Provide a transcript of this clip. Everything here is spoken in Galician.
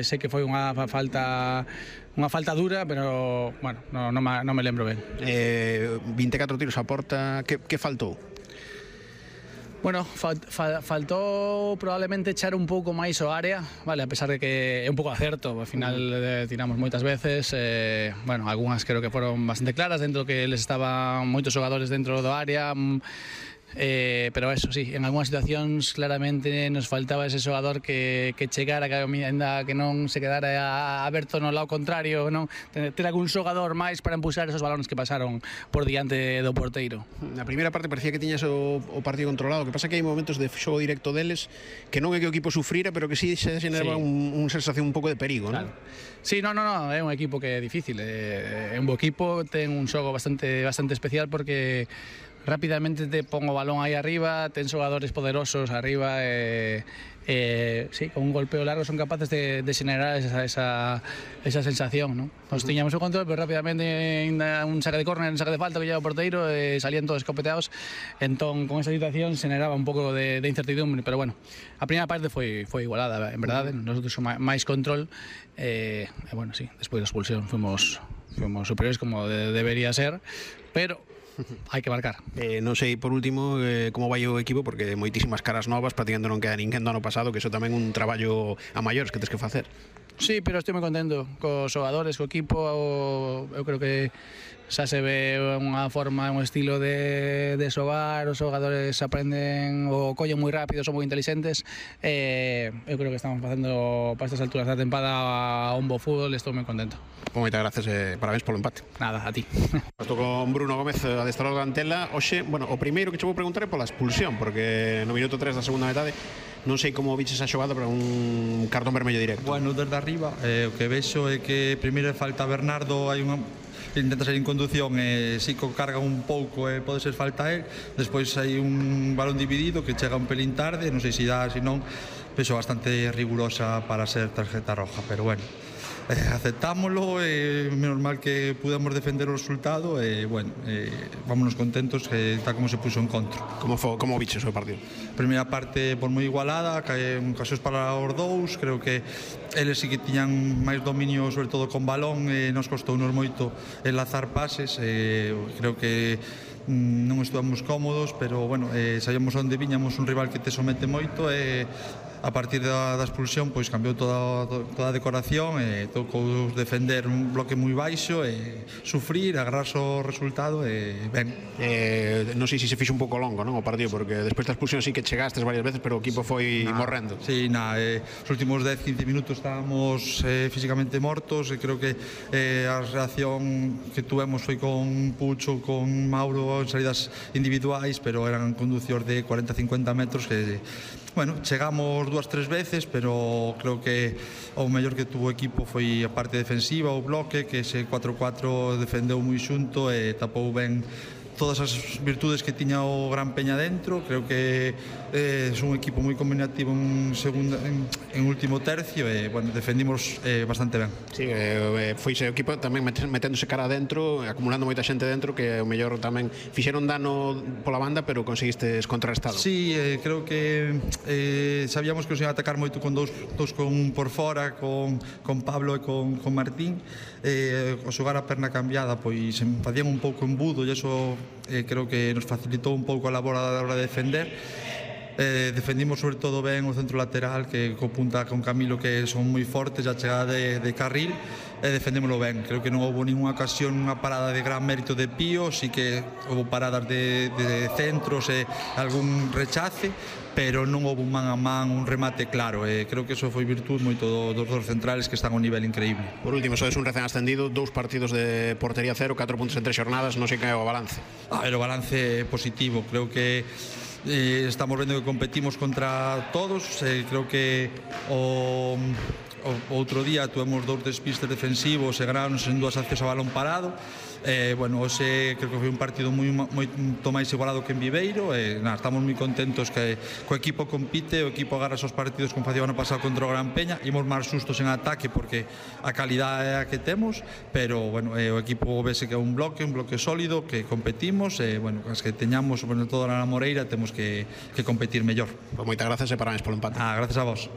Sei que foi unha falta dura, pero bueno, non me lembro ben. 24 tiros a porta, que faltou? Bueno, faltou probablemente echar un pouco máis o área, vale, a pesar de que é un pouco acerto, ao final tiramos moitas veces, bueno, algunhas creo que foron bastante claras, dentro que les estaban moitos xogadores dentro do área, pero eso sí, en algunhas situacións claramente nos faltaba ese xogador que chegara, que non se quedara aberto no lado contrario, non ter algún xogador máis para empuxar esos balones que pasaron por diante do porteiro. Na primeira parte parecía que tiñas o partido controlado, que pasa que hai momentos de xogo directo deles que non é que o equipo sufrira, pero que sí se xeneraba unha sensación un pouco de perigo, claro. Non? Sí, no, é un equipo que é difícil, é un bo equipo, ten un xogo bastante especial porque rápidamente te pon o balón aí arriba, ten xogadores poderosos arriba sí, con un golpeo largo son capaces de xenerar esa sensación, ¿no? Nos tiñamos o control, pero rápidamente un saque de córner, un saque de falta que lleva o porteiro, salían todos escopeteados, entón con esa situación xeneraba un pouco de incertidumbre, pero bueno, a primeira parte foi igualada, en verdade, nosotros máis control, bueno, sí, despois da expulsión fuimos superiores como debería ser, pero hai que marcar. Non sei, por último, como vai o equipo, porque moitísimas caras novas, prácticamente non queda ninguén do ano pasado, que iso tamén un traballo a maiores que tens que facer. Sí, pero estou moi contento cos xogadores, co equipo, eu creo que xa se ve unha forma, un estilo de xogar, os xogadores aprenden o collen moi rápido, son moi inteligentes, eu creo que estamos facendo para estas alturas da tempada un bo fútbol, estou moi contento. Moitas gracias e parabéns polo empate. Nada, a ti. Estou con Bruno Gómez, adestrador da Antela. Oxe, bueno, o primeiro que che vou preguntar é pola expulsión, porque no minuto 3 da segunda metade non sei como viches a xogada, pero un cartón vermello directo. Bueno, desde arriba, o que vexo é que primeiro falta Bernardo, hai unha intenta sair en conducción e Sico carga un pouco e pode ser falta él, despois hai un balón dividido que chega un pelín tarde, non sei se dá, se non, vexo bastante rigurosa para ser tarjeta roja, pero bueno, aceptámoslo, menos mal que pudemos defender o resultado e bueno, vámonos contentos que tal como se puso en contra. Como viches o partido? Primeira parte por moi igualada, ocasións para os dous, creo que eles sí que tiñan máis dominio sobre todo con balón e nos costounos moito enlazar pases, creo que non estuvamos cómodos, pero bueno, sabíamos onde viñamos, un rival que te somete moito e a partir da expulsión pois cambiou toda a decoración e tocou defender un bloque moi baixo e sufrir, agarrarse o resultado e ben. Non sei se se fixo un pouco longo, non, o partido, porque despois da expulsión sí que chegastes varias veces, pero o equipo foi morrendo. Sí, os últimos 10-15 minutos estábamos físicamente mortos e creo que a reacción que tuvemos foi con Pucho, con Mauro en salidas individuais, pero eran conducións de 40-50 metros que bueno, chegamos 2-3 veces, pero creo que o mellor que tuvo o equipo foi a parte defensiva, o bloque, que ese 4-4 defendeu moi xunto e tapou ben todas as virtudes que tiña o Gran Peña dentro. Creo que é un equipo moi combinativo en último tercio e bueno, defendimos bastante ben. Sí, foi ese equipo tamén meténdose cara adentro, acumulando moita xente dentro, que o mellor tamén fixeron dano pola banda, pero conseguistes contrarrestado. Sí, creo que sabíamos que os iban a atacar moito con dous con por fora, con Pablo e con Martín, o xogar a perna cambiada pois facían un pouco embudo e iso creo que nos facilitou un pouco a labor a hora de defender. Defendimos sobre todo ben o centro lateral, que co punta con Camilo, que son moi fortes, a chegada de carril, e defendémoslo ben. Creo que non houve ninguna ocasión, unha parada de gran mérito de Pío, sí que houve paradas de centros e algún rechace, pero non houve un man a man, un remate claro, e creo que eso foi virtud moito dos dos centrales que están a un nivel increíble. Por último, sodes un recén ascendido, 2 partidos de portería cero, 4 puntos en 3 xornadas, non sei que é o balance. O balance positivo, creo que estamos vendo que competimos contra todos, creo que o outro día tuvemos 2 despistes defensivos e ganáronos en 2 accións a balón parado. Bueno, hoxe creo que foi un partido moito máis igualado que en Viveiro e estamos moi contentos que o equipo compite, o equipo agarra esos partidos como facía o ano pasado contra o Gran Peña. Imos máis sustos en ataque porque a calidade é a que temos, pero bueno, o equipo vese que é un bloque sólido, que competimos e bueno, as que teñamos sobre todo na Moreira temos que competir mellor. Moitas gracias e parabéns polo empate. Gracias a vos.